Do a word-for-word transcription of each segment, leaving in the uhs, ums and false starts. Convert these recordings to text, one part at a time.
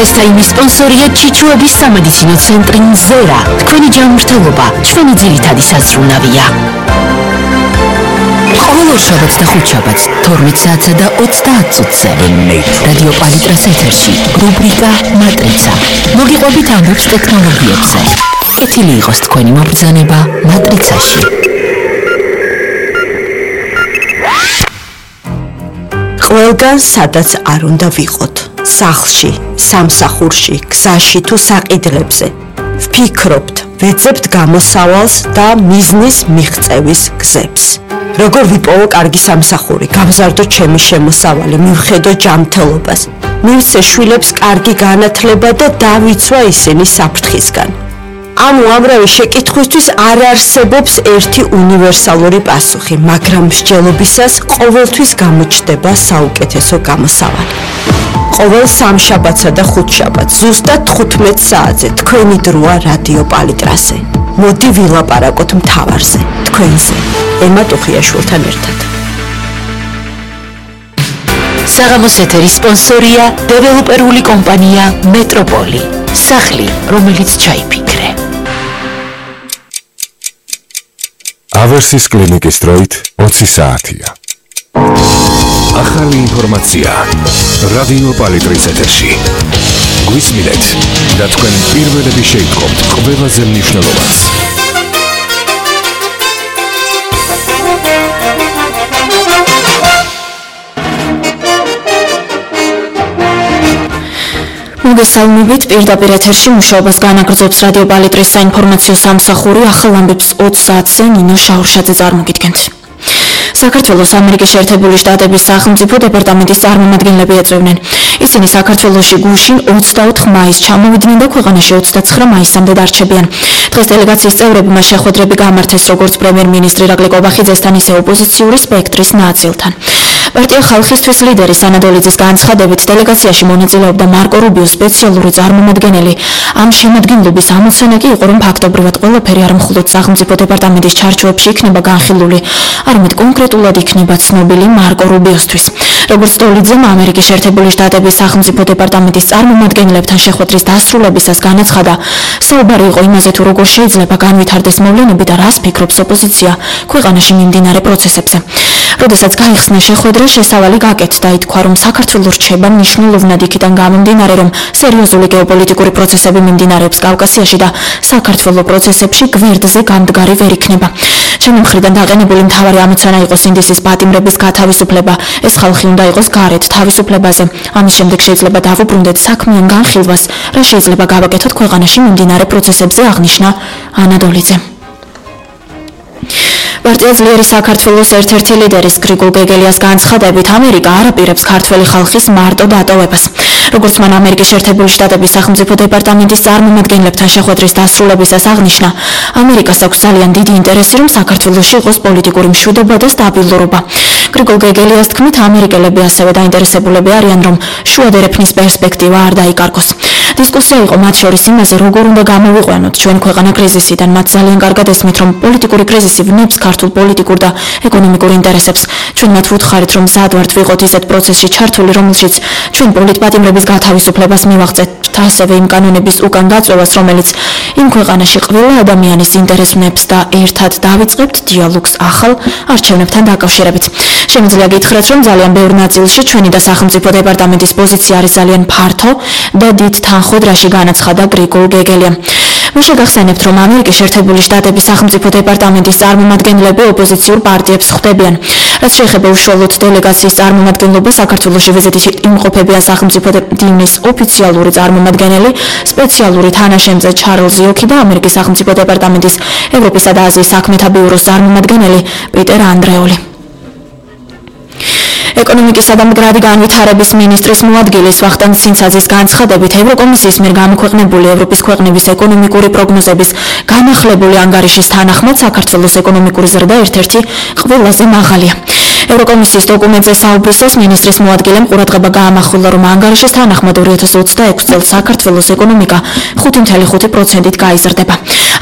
Press-time სპონსორია ჩიჩუების სამედიცინო ცენტრი მზერა. თქვენი ჯანმრთელობა, ჩვენი ძირითადი საზრუნავია. ყოველ შაბათს და ხუთშაბათს თორმეტ საათსა და ოცდაათ წუთზე რადიო პალიტრას ეთერში რუბრიკა მატრიცა. მოგიყვებით ამბებს ტექნოლოგიებზე. კეთილი იყოს თქვენი მობრძანება მატრიცაში. ყველგან სადაც არ უნდა ვიყოთ, სახლში, სამსახურში, გზაში თუ საყიდლებზე. ვფიქრობთ, ვეძებთ გამოსავალს და მიზნის მიღწევის გზებს. როგორ ვიპოვო კარგი სამსახური, გავზარდო ჩემი შემოსავალი, მივხედო ჯანმრთელობას, მივცე შვილებს კარგი განათლება და დავიცვა ისინი საფრთხისგან. ამ უამრავი შეკითხვისთვის არ არსებობს ერთი უნივერსალური პასუხი, მაგრამ მსჯელობისას ყოველთვის გამოჩნდება საუკეთესო გამოსავალი. ყოველ სამშაბათსა და ხუთშაბათს ზუსტად თხუთმეტ საათზე თქვენი დროა რადიო პალიტრაზე. მოდი ვილაპარაკოთ მთავარზე, თქვენზე, ემა ტუხიაშვილთან ერთად. საღამოს ეთერის სპონსორია დეველოპერული კომპანია მეტროპოლი. სახლი, რომელიც ჩაიფიქრე. ავერსის კლინიკის დროით ოცი საათია. ახალი ინფორმაცია რადიო პალიტრის ეთერში. გვისმინეთ და თქვენ პირველები შეიტყობთ ყველაზე მნიშვნელოვანს. მოგესალმებით, პირდაპირ ეთერში მუშაობას განაგრძობს რადიო პალიტრის საინფორმაციო სამსახური. ახალ ამბებს ოც საათზე ნინო შაურშაძე წარმოგიდგენთ. საქართველოს ამერიკის შეერთებული შტატების სახელმწიფო დეპარტამენტის წარმომადგენლები ეწევნენ. ისინი საქართველოში გუშინ ოცდაოთხ მაისს ჩამოვიდნენ და ქვეყანაში ოცდაცხრა მაისამდე დარჩებიან. დღეს დელეგაციის წევრებმა შეხვედრები გამართეს როგორც პრემიერ-მინისტრი ირაკლი კობახიძესთან, ისე ოპოზიციური სპექტრის ნაწილთან. პარტია ხალხისთვის ლიდერი სანადოლიძის განცხადებით დელეგაციაში მონაწილეობდა მარკო რუბიოს სპეციალური წარმომადგენელი. ამ შემადგენლობის ამოცანა კი იყო, რომ ფაქტობრივად ყველაფერი არ მხოლოდ სახელმწიფო დეპარტამენტის ჩარჩოებში იქნება განხილული, არამედ კონკრეტულად იქნება ცნობილი მარკო რუბიოსთვის. როგორც დოლიძემ ამერიკის შეერთებული შტატების სახელმწიფო დეპარტამენტის წარმომადგენლებთან შეხვედრის დასრულებისას განაცხადა, საუბარი იყო იმაზე, თუ როგორ შეიძლება განვითარდეს მოვლენები და რას ფიქრობს ოპოზიცია ქვეყანაში მიმდინარე პროცესებზე. როდესაც გაიხსნა შეხვედრა, შესავალი გაკეთდა, ითქვა, რომ საქართველოს რჩება მნიშვნელოვნად იქიდან გამომდინარე, რომ სერიოზული გეოპოლიტიკური პროცესები მიმდინარეობს კავკასიაში და საქართველოს პროცესებში გვერდზე გამდგარი ვერ იქნება. ჩემი მხრიდან დაყენებული მთავარი ამოცანა იყო სინდისის პატიმრების გათავისუფლება. ეს ხალხი უნდა იყოს გარეთ თავისუფლებაზე. ამის შემდეგ შეიძლება დავუბრუნდეთ საქმიან განხილვას, რა შეიძლება გავაკეთოთ ქვეყანაში მიმდინარე პროცესებზე, აღნიშნა ანადოლიძე. პარტია ძლიერი საქართველოს ერთ-ერთი ლიდერის გრიგოლ გეგელიას განცხადებით, ამერიკა არ აპირებს ქართველი ხალხის მარტო დატოვებას. როგორც მან ამერიკის შეერთებული შტატების სახელმწიფო დეპარტამენტის წარმომადგენლებთან შეხვედრის დასრულებისას აღნიშნა, ამერიკას აქვს ძალიან დიდი ინტერესი, რომ საქართველოში იყოს პოლიტიკური მშვიდობა და სტაბილურობა. გრიგოლ გეგელიას თქმით, ამერიკელები ასევე დაინტერესებულები არიან, რომ შუა დერეფნის პერსპექტივა არ დაიკარგოს. დისკუსია იყო მათ შორის იმაზე, როგორ უნდა გამოვიყვანოთ ჩვენ ქვეყანა კრიზისიდან. მათ ძალიან კარგად ესმით, რომ პოლიტიკური კრიზისი ვნებს ქართულ პოლიტიკურ და ეკონომიკურ ინტერესებს. ჩვენ მათ ვუთხარით, რომ მზად ვართ ვიყოთ ისეთ პროცესში ჩართული, რომელშიც ჩვენ პოლიტპატიმრების გათავისუფლებას მივაღწევთ, ასევე იმ კანონების უკან გაწევას, რომელიც იმ ქვეყანაში ყველა ადამიანის ინტერესს ვნებს და ერთად დავიწყებთ დიალოგს ახალ არჩევნებთან დაკავშირებით. შემიძლია გითხრათ, რომ ძალიან ბევრ ნაწილში ჩვენი და სახელმწიფო დეპარტამენტის პოზიცია არის ძალიან ფართო და დიდ თანხმოძრაში, განაცხადა გრიგოლ გეგელიამ. მაშინ გახსენებთ, რომ ამერიკის შეერთებული შტატების სახელმწიფო დეპარტამენტის წარმომადგენლები ოპოზიციურ პარტიებს ხვდებიან. რაც შეეხება უშუალოდ დელეგაციის წარმომადგენლობა, საქართველოში ვიზიტით იმყოფებიან სახელმწიფო დინის ოფიციალური წარმომადგენელი, სპეციალური თანაშემწე ჩარლზ იოქი და ამერიკის სახელმწიფო დეპარტამენტის ევროპისა და აზიის საქმეთა ბიუროს წარმომადგენელი პიტერ ანდრეული. ეკონომიკისა და მდგრადი განვითარების მინისტრის მოადგილის ვახტანგ ცინცაძის განცხადებით, ევროკომისიის მიერ გამოქვეყნებული ევროპის ქვეყნების ეკონომიკური პროგნოზების განახლებული ანგარიშის თანახმად საქართველოს ეკონომიკური ზრდა ერთ-ერთი ყველაზე მაღალია. ევროკომისიის დოკუმენტზე საუბრისას მინისტრის მოადგილემ ყურადღება გაამახვილა, რომ ანგარიშის თანახმად ორი ათას ოცდაექვსი წელს საქართველოს ეკონომიკა ხუთი ცხრა პროცენტით გაიზრდება.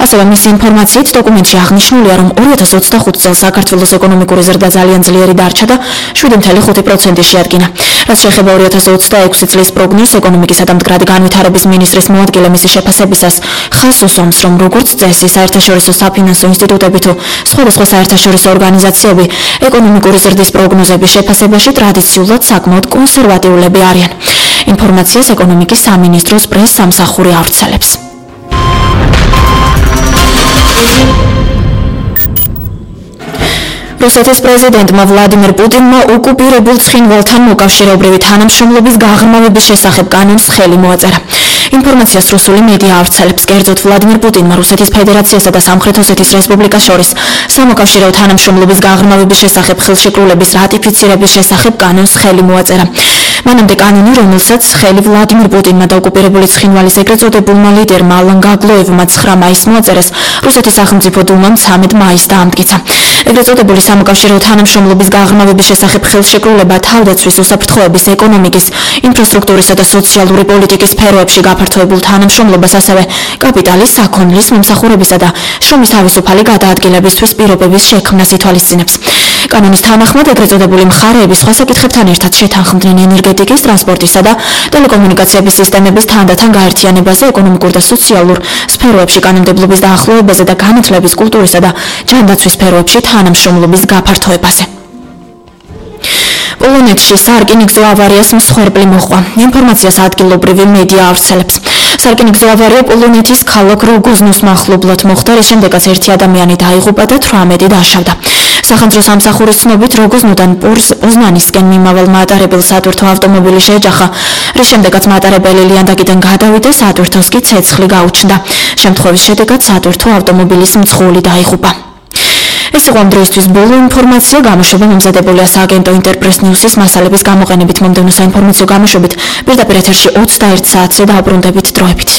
ასევე მისი ინფორმაციით დოკუმენტში აღნიშნულია, რომ ორი ათას ოცდახუთი წელს საქართველოს ეკონომიკური ზრდა ძალიან ძლიერი დარჩა და შვიდი ცხრა ხუთი პროცენტი შეადგინა. რაც შეეხება ორი ათას ოცდაექვსი წლის პროგნოზს, ეკონომიკისა და მდგრადი განვითარების მინისტრის მოადგილე მისი შეფასებისას ხაზს უსვამს, რომ როგორც წესი საერთაშორისო საფინანსო ინსტიტუტები თუ სხვადასხვა საერთაშორისო ორგანიზაციები ეკონომიკური ზრდის პროგნოზების შეფასებაში ტრადიციულად საკმაოდ კონსერვატიულები არიან. ინფორმაციას ეკონომიკის სამინისტროს პრეს-სამსახური ავრცელებს. რუსეთის პრეზიდენტმა ვლადიმერ პუტინმა ოკუპირებულ ცხინვალთან მოკავშირეობრივი თანამშრომლობის გაღრმავების შესახებ კანონს ხელი მოაწერა. ინფორმაციას რუსული მედია ავრცელებს. კერძოდ, ვლადიმერ პუტინმა რუსეთის ფედერაციასა და სამხრეთ ოსეთის რესპუბლიკას შორის სამოკავშირეო თანამშრომლობის გაღრმავების შესახებ ხელშეკრულების რატიფიცირების შესახებ კანონს ხელი მოაწერა. მანამდე კანონი, რომელსაც ხელი ვლადიმერ პუტინმა და ოკუპირებული ცხინვალის ეგრეთ წოდებულმა ლიდერმა ალან გაგლოევმა ცხრა მაისს მოაწერეს, რუსეთის სახელმწიფო დუმამ ცამეტ მაისს დაამტკიცა. ეგრეთ წოდებული სამოკავშირეო თანამშრომლობის გაღრმავების შესახებ ხელშეკრულება თავდაცვის, უსაფრთხოების, ეკონომიკის, ინფრასტრუქტურისა და სოციალური პოლიტიკის სფეროებში გაფართოებულ თანამშრომლობას, ასევე კაპიტალის, საქონლის, მომსახურებისა და შრომის თავისუფალი გადაადგილებისთვის პირობების შექმნას ითვალისწინებს. კანონის თანახმად ეგრეთ წოდებული მხარეები სხვა საკითხებთან ერთად შეთანხმდნენ ენერგეტიკის, ტრანსპორტისა და ტელეკომუნიკაციების სისტემების თანდათან გაერთიანებაზე, ეკონომიკურ და სოციალურ სფეროებში კანონმდებლობის დაახლოებაზე და განათლების, კულტურისა და ჯანდაცვის სფეროებში თანამშრომლობის გაფართოებაზე. პოლონეთში სარკინიგზო ავარიას მსხვერპლი მოჰყვა. ინფორმაციას ადგილობრივი მედია ავრცელებს. სარკინიგზო ავარია პოლონეთის ქალაქ როგოზნოს მახლობლად მოხდა, რის შემდეგაც ერთი ადამიანი დაიღუპა და თვრამეტი დაშავდა. სახანძრო სამსახურის ცნობით როგოზნოდან პოზნანისკენ მიმავალ მატარებელ სატვირთო ავტომობილი შეეჯახა, რის შემდეგაც მატარებელი ლიანდაგიდან გადავიდა, სატვირთოს კი ცეცხლი გაუჩნდა. შემთხვევის შედეგად სატვირთო ავტომობილის მძღოლი დაიღუპა. ეს იყო ამ დროისთვის ბოლო ინფორმაცია. გამოშვება მომზადებულია სააგენტო ინტერპრეს ნიუსის მასალების გამოყენებით. მომდევნო საინფორმაციო გამოშვებით პირდაპირ ეთერში ოცდაერთ საათზე დაუბრუნდებით დროებით.